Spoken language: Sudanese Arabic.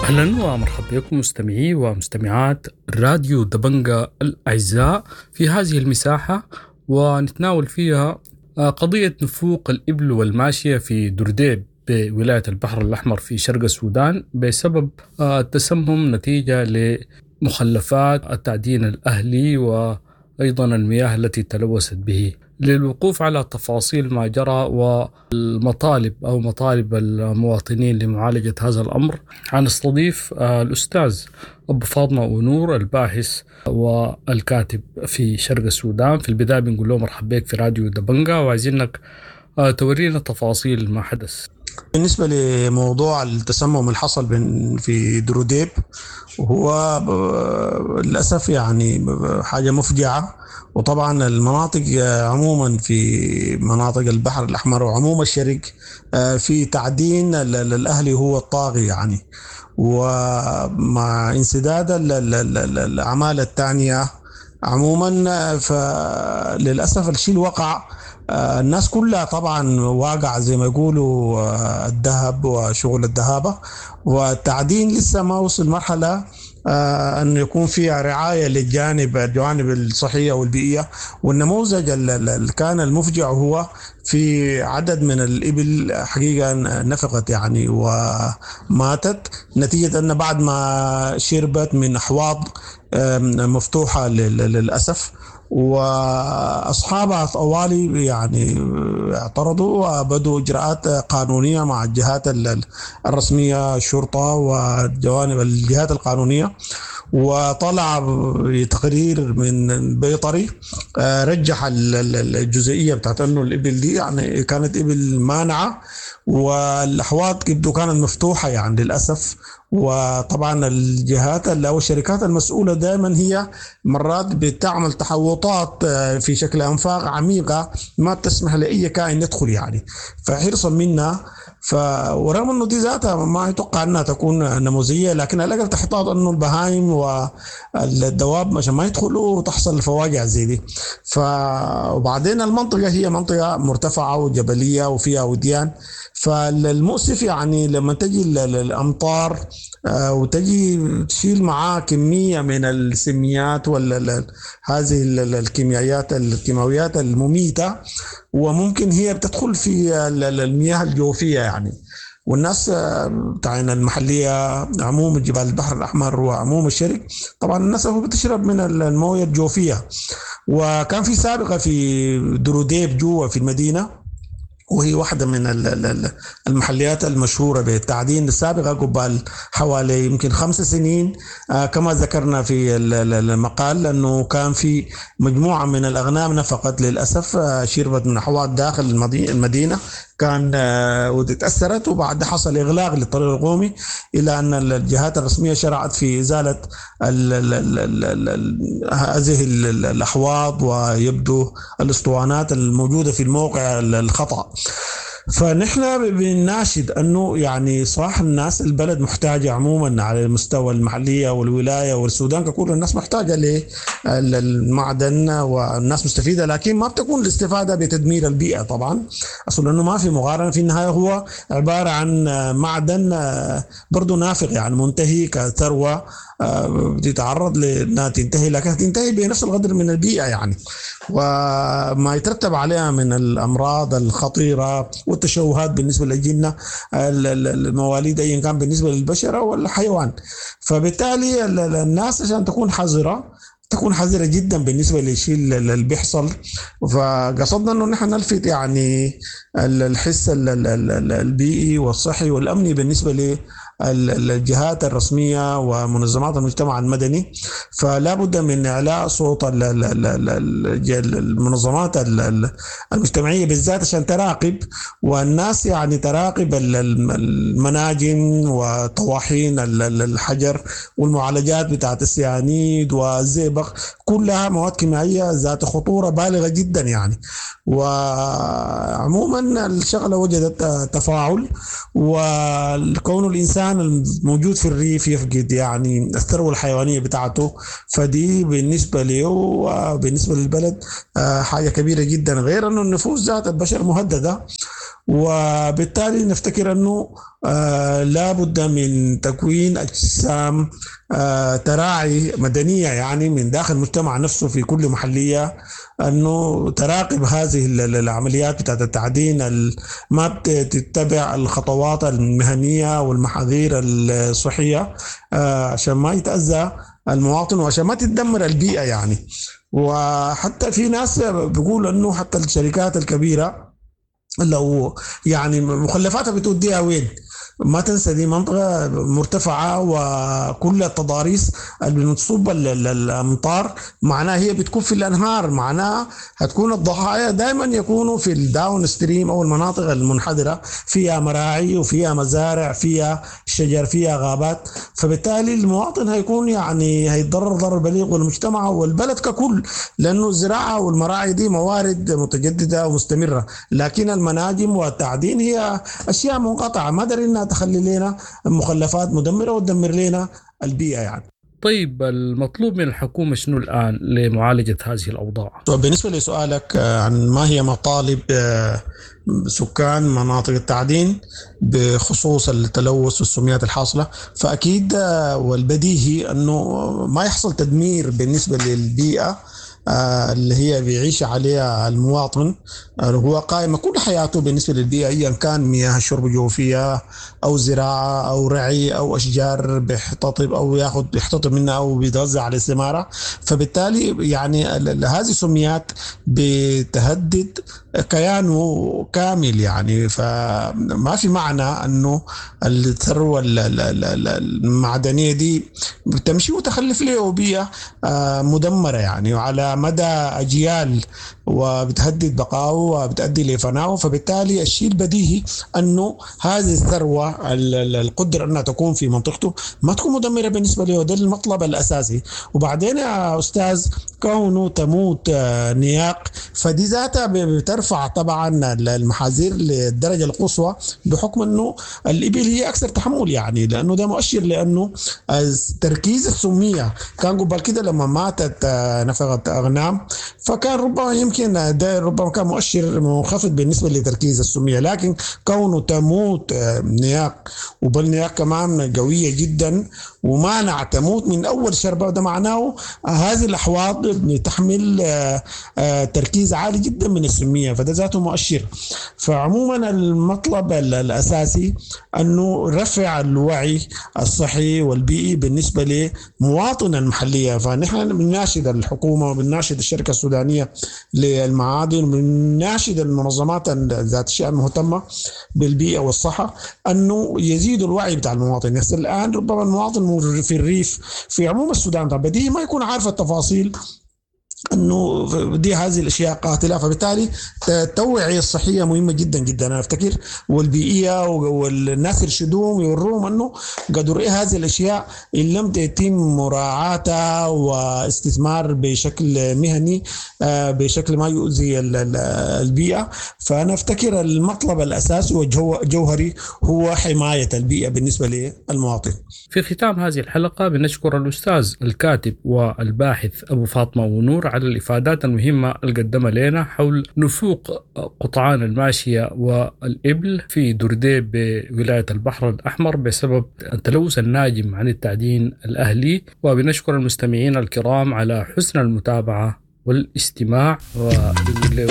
اهلا ومرحبا بكم مستمعي ومستمعات راديو دبنقا الاعزاء في هذه المساحه ونتناول فيها قضية نفوق الابل والماشية في درديب بولاية البحر الاحمر في شرق السودان بسبب التسمم نتيجة لمخلفات التعدين الاهلي وايضا المياه التي تلوثت به. للوقوف على تفاصيل ما جرى والمطالب او مطالب المواطنين لمعالجه هذا الامر حنستضيف الاستاذ ابو فاطمه ونور الباحث والكاتب في شرق السودان. في البدايه بنقول له مرحبا بك في راديو دبنقا وعايزينك تورينا تفاصيل ما حدث. بالنسبة لموضوع التسمم اللي حصل في دروديب، وهو للأسف يعني حاجة مفجعة. وطبعا المناطق عموما في مناطق البحر الأحمر وعموم الشرق في تعدين الأهلي هو الطاغي يعني، ومع انسداد الأعمال الثانية عموما فللأسف الشيء وقع الناس كلها طبعا واقع زي ما يقولوا الذهب وشغل الذهابة، والتعدين لسه ما وصل مرحلة أن يكون فيها رعاية للجانب الجوانب الصحية والبيئية. والنموذج اللي كان المفجع هو في عدد من الإبل حقيقة نفقت يعني وماتت نتيجة أن بعد ما شربت من أحواض مفتوحة للأسف، واصحابها طوالي يعني اعترضوا وبدوا اجراءات قانونيه مع الجهات الرسميه، الشرطه والجوانب الجهات القانونيه. وطلع تقرير من بيطري رجح الجزئيه بتاعت انه الابل دي يعني كانت ابل مانعه، والاحواض يبدو كانت مفتوحه يعني للاسف. وطبعا الجهات او الشركات المسؤوله دائما هي مرات بتعمل تحوطات في شكل انفاق عميقه ما بتسمح لاي كائن يدخل يعني، فحرصا منا. ورغم انه دي ذاتها ما يتوقع انها تكون نموذجيه، لكن على الاقل تحتاط انه البهايم والدواب عشان ما يدخلوا وتحصل الفواجع زي دي. وبعدين المنطقه هي منطقه مرتفعه وجبليه وفيها وديان، فالمؤسف يعني لما تجي الامطار وتجي تشيل معاه كميه من السميات ولا هذه الكيميائيات الكيماويات المميته، وممكن هي بتدخل في المياه الجوفيه يعني. والناس بتاعنا المحليه عموم جبال البحر الاحمر وعموم الشرق طبعا الناس بتشرب من المويه الجوفيه. وكان في سابقه في دروديب جوا في المدينه، وهي واحدة من المحليات المشهورة بالتعدين السابقة قبل حوالي يمكن 5 سنين، كما ذكرنا في المقال أنه كان في مجموعة من الأغنام نفقت للأسف، شربت من أحواض داخل المدينة كان وتأثرت، وبعد حصل إغلاق للطريق القومي إلى أن الجهات الرسمية شرعت في إزالة هذه الأحواض ويبدو الأسطوانات الموجودة في الموقع الخطأ. فنحن بنناشد أنه يعني صح الناس البلد محتاجة عموما على المستوى المحلية والولاية والسودان ككل، الناس محتاجة للمعدن والناس مستفيدة، لكن ما بتكون الاستفادة بتدمير البيئة طبعا، أصلا أنه ما في مقارنة. في النهاية هو عبارة عن معدن برضو نافق يعني منتهي كثروة بتتعرض لأنها تنتهي، لكن تنتهي بنفس القدر من البيئة يعني، وما يترتب عليها من الأمراض الخطيرة والتشوهات بالنسبة للأجنة المواليد أيا كان بالنسبة للبشرة والحيوان. فبالتالي الناس عشان تكون حذرة، تكون حذرة جدا بالنسبة للشيء اللي بيحصل. فقصدنا أنه نحن نلفت يعني الحس البيئي والصحي والأمني بالنسبة للجهات الرسمية ومنظمات المجتمع المدني، فلا بد من إعلاء صوت المنظمات المجتمعية بالذات عشان تراقب، والناس يعني تراقب المناجم وطواحين الحجر والمعالجات بتاعت السيانيد والزئبق، كلها مواد كيميائية ذات خطورة بالغة جدا يعني. وعموما الشغلة وجدت تفاعل، وكون الإنسان الموجود في الريف يفقد يعني الثروة الحيوانية بتاعته، فدي بالنسبة له وبالنسبة للبلد حاجة كبيرة جدا. غير أنه النفوس ذات البشر مهددة، وبالتالي نفتكر أنه لابد من تكوين أجسام تراعي مدنية يعني من داخل المجتمع نفسه في كل محلية، أنه تراقب هذه العمليات بتاعت التعدين ما بتتبع الخطوات المهنية والمحاذير الصحية، عشان ما يتأذى المواطن وعشان ما تتدمر البيئة يعني. وحتى في ناس بيقولوا أنه حتى الشركات الكبيرة لو يعني مخلفاتها بتوديها وين؟ ما تنسى دي منطقة مرتفعة وكل التضاريس اللي بتصب الأمطار معناها هي بتكون في الأنهار، معناها هتكون الضحايا دائما يكونوا في ال downstream أو المناطق المنحدرة، فيها مراعي وفيها مزارع، فيها شجر، فيها غابات، فبالتالي المواطن هيكون يعني هيتضرر ضرر بليغ، والمجتمع والبلد ككل، لأنه الزراعة والمراعي دي موارد متجددة ومستمرة، لكن المناجم والتعدين هي أشياء منقطعة، ما دارين إنها تخلي لنا مخلفات مدمرة وتدمر لنا البيئة يعني. طيب المطلوب من الحكومة شنو الآن لمعالجة هذه الأوضاع؟ طيب بالنسبة لسؤالك عن ما هي مطالب سكان مناطق التعدين بخصوص التلوث والسميات الحاصلة، فأكيد والبديهي أنه ما يحصل تدمير بالنسبة للبيئة اللي هي بيعيش عليها المواطن، هو قائمة كل حياته بالنسبة للبيئة، أيا كان مياه الشرب الجوفية أو زراعة أو رعي أو أشجار بيحتطب أو ياخد بيحتطب منها أو بيتغذى على الثمارة. فبالتالي يعني هذه السميات بتهدد كيانه كامل يعني، فما في معنى أنه الثروة المعدنية دي بتمشي وتخلف له بيئة مدمرة يعني وعلى مدى أجيال، وبتهدد بقائه وبتؤدي لفنائه. فبالتالي الشيء البديهي أنه هذه الثروة القدرة أنها تكون في منطقته ما تكون مدمرة بالنسبة له، ده المطلب الأساسي. وبعدين يا أستاذ كونه تموت نياق فدي ذاتها بترفع طبعا المحاذير للدرجة القصوى، بحكم أنه الإبل هي أكثر تحمل يعني، لأنه ده مؤشر، لأنه تركيز السمية كان قبل كده لما ماتت نفقة أغنام فكان ربما يمكن ده ربما كان مؤشر منخفض بالنسبة لتركيز السمية، لكن كونه تموت نياق وبل نياق كمان قوية جدا ومانع تموت من أول شربة، ده معناه هذه الأحواض تحمل تركيز عالي جدا من السمية، فده ذاته مؤشر. فعموما المطلب الأساسي أنه رفع الوعي الصحي والبيئي بالنسبة لمواطن المحلية. فنحن بنناشد الحكومة وبنناشد الشركة السودانية للمعادن وبنناشد المنظمات ذات الشأن المهتمة بالبيئة والصحة أنه يزيدوا الوعي بتاع المواطن. بس الآن ربما المواطن في الريف في عموم السودان طبعا بديهي ما يكون عارف التفاصيل أنه دي هذه الأشياء قاتلة، فبالتالي التوعية الصحية مهمة جدا جدا أنا أفتكر، والبيئية، والناس يرشدوهم يوروهم أنه قدر إيه هذه الأشياء إن لم يتم مراعاتها واستثمار بشكل مهني بشكل ما يؤذي البيئة. فأنا أفتكر المطلب الأساسي والجوهري هو حماية البيئة بالنسبة للمواطن. في ختام هذه الحلقة بنشكر الأستاذ الكاتب والباحث أبو فاطمة ونور على الإفادات المهمة اللي قدمها لنا حول نفوق قطعان الماشية والإبل في درديب بولاية البحر الأحمر بسبب التلوث الناجم عن التعدين الأهلي. وبنشكر المستمعين الكرام على حسن المتابعة والاستماع، وبنقول